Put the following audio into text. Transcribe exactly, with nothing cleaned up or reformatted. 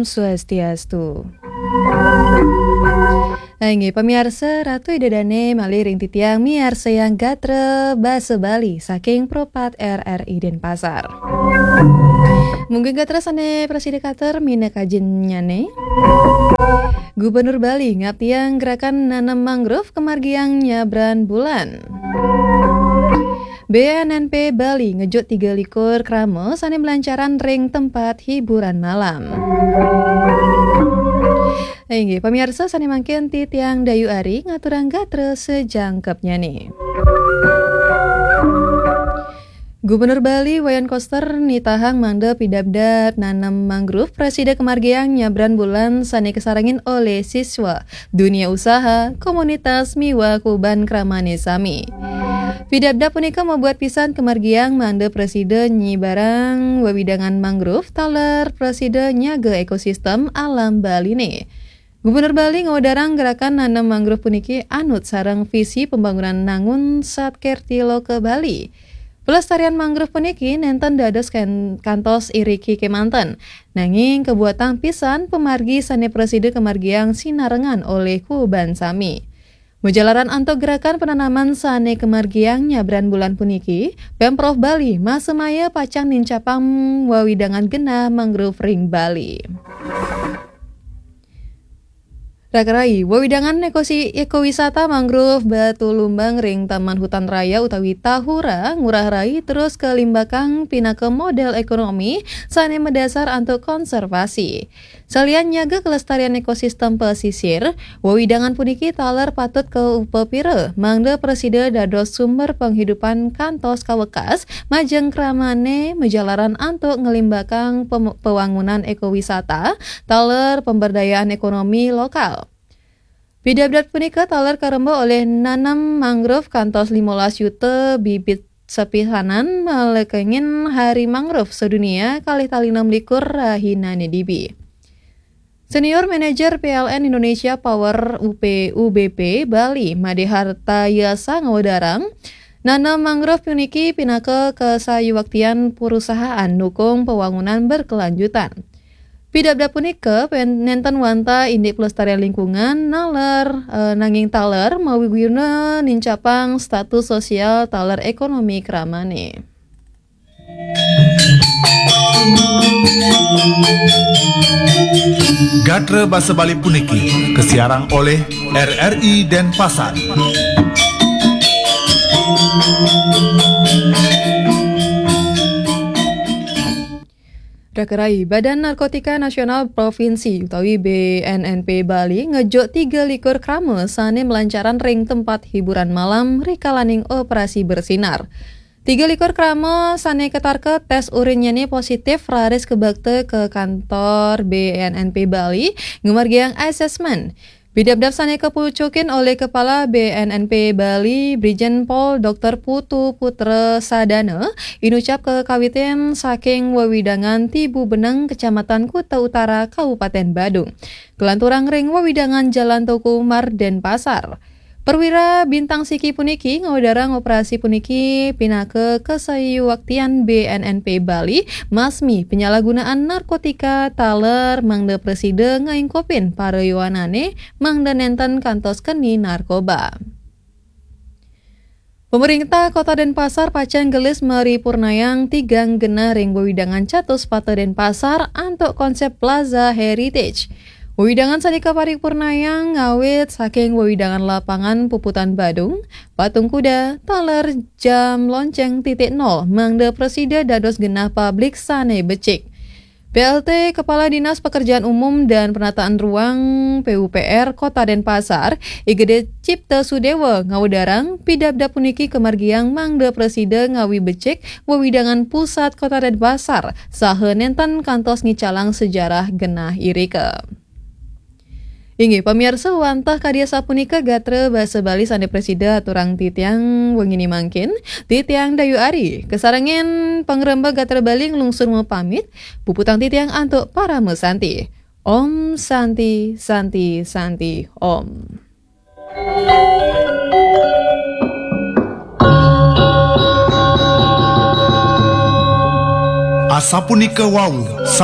Swastiastu. Inggih, pamiarsa, Ratu Ida Dane malih ring titiang miarsayang gatra basa Bali saking Pro pat R R I Denpasar. Mungguing gatra sane prasida katur minakajinnyane. Gubernur Bali ngaptiang gerakan nanem mangrove kamargiang nyabran bulan. B N N P Bali ngejut tiga likur krama sane malancaran ring tempat hiburan malam. Inggih, pamiarsa, sane mangkin titiang Dayu Ari ngaturang gatra sajangkepnyane. Gubernur Bali Wayan Koster nitahang mangda pidabdab nanem mangrove prasida kamargiang nyabran bulan sane kasarengin olih siswa, dunia usaha, komunitas miwah kuban kramane sami. Pidabdab punika mabuat pisan kamargiang mangda prasida nyibarang wewidangan mangrove taler prasida nyaga ekosistem alam Baline. Gubernur Bali ngawedarang gerakan nanem mangrove puniki anut sareng visi pembangunan Nangun Satkerti Loka Bali. Pelestarian mangrove puniki nenten dados kan-, kantos iriki kemanten, nanging kabuatang pisan pamargi sane prasida kamargiang sinarengan olih kuban sami. Majalaran antuk gerakan penanaman sane kamargiang nyabran bulan puniki, Pemprov Bali masemaya pacang nincapang wewidangan genah mangrove ring Bali. Rakarai, wewidangan ekosi-, ekowisata mangrove Batu Lumbang ring Taman Hutan Raya utawi Tahura, Ngurah Rai, terus kalimbakang pinaka model ekonomi sane madasar antuk konservasi. Salian nyaga kelestarian ekosistem pesisir, wewidangan puniki taler patut kaupapira mangda prasida dados sumber penghidupan kantos kawekas majeng kramane majalaran antuk nglimbakang pem-, pewangunan ekowisata taler pemberdayaan ekonomi lokal. Pidabdab punika taler karemba olih nanem mangrove kantos limolas yuta bibit sepisanan malekengin Hari Mangrove Sedunia kalih tali enam likur rahinane dibi. Senior Manager P L N Indonesia Power U P U B P Bali Made Harta Yasa ngawedarang, nanem mangrove puniki pinaka kasayuwaktian perusahaan nukung pewangunan berkelanjutan. Pidabdab punika pen-, nenten wantah indik pelestarian lingkungan, naler, eh, nanging taler mawiguna nincapang status sosial taler ekonomi kramane. Gatra basa Bali puniki kasiarang olih R R I Denpasar. Rakarai, Badan Narkotika Nasional Provinsi utawi B N N P Bali ngejuk tiga likur krama sane malancaran ring tempat hiburan malam rikalaning operasi bersinar. Tiga likur krama sane katarka tes urinnyane positif raris kabakta ka kantor B N N P Bali ngamargiang asesmen. Pidabdab sane kapucukin olih Kepala B N N P Bali, Brigjen Pol Doktor Putu Putra Sadana, inucap kakawitin saking wewidangan Tibu Beneng, Kecamatan Kuta Utara, Kabupaten Badung, kalanturang ring wewidangan Jalan Teuku Umar, Denpasar. Perwira Bintang Siki puniki ngawedarang operasi puniki pinaka kasayuwaktian B N N P Bali masmi penyalahgunaan narkotika taler mangda prasida ngaingkupin para yowanane mangda nenten kantos keni narkoba. Pemerintah Kota Denpasar pacang gelis maripurnayang tigang genah ring wewidangan Catuspata Denpasar antuk konsep Plaza Heritage. Wewidangan sane kaparipurnayang ngawit saking wewidangan Lapangan Puputan Badung, Patung Kuda, taler jam lonceng titik nol mangda prasida dados genah publik sane becik. P L T Kepala Dinas Pekerjaan Umum dan Penataan Ruang, P U P R, Kota Denpasar, I G D Cipta Sudewa ngawedarang, pidabdab puniki kamargiang mangda prasida ngawi becik wewidangan pusat Kota Denpasar saha nenten kantos ngicalang sejarah genah irika. Inggih, pamiarsa, wantah kadi asapunika gatra basa Bali sane prasida aturang titiang wengine mangkin, titiang Dayu Ari. Kasarengin pangremba gatra Bali nglungsur mapamit, puputang titiang antuk parama santi. Om Santi, Santi, Santi, Om. Asapunika wau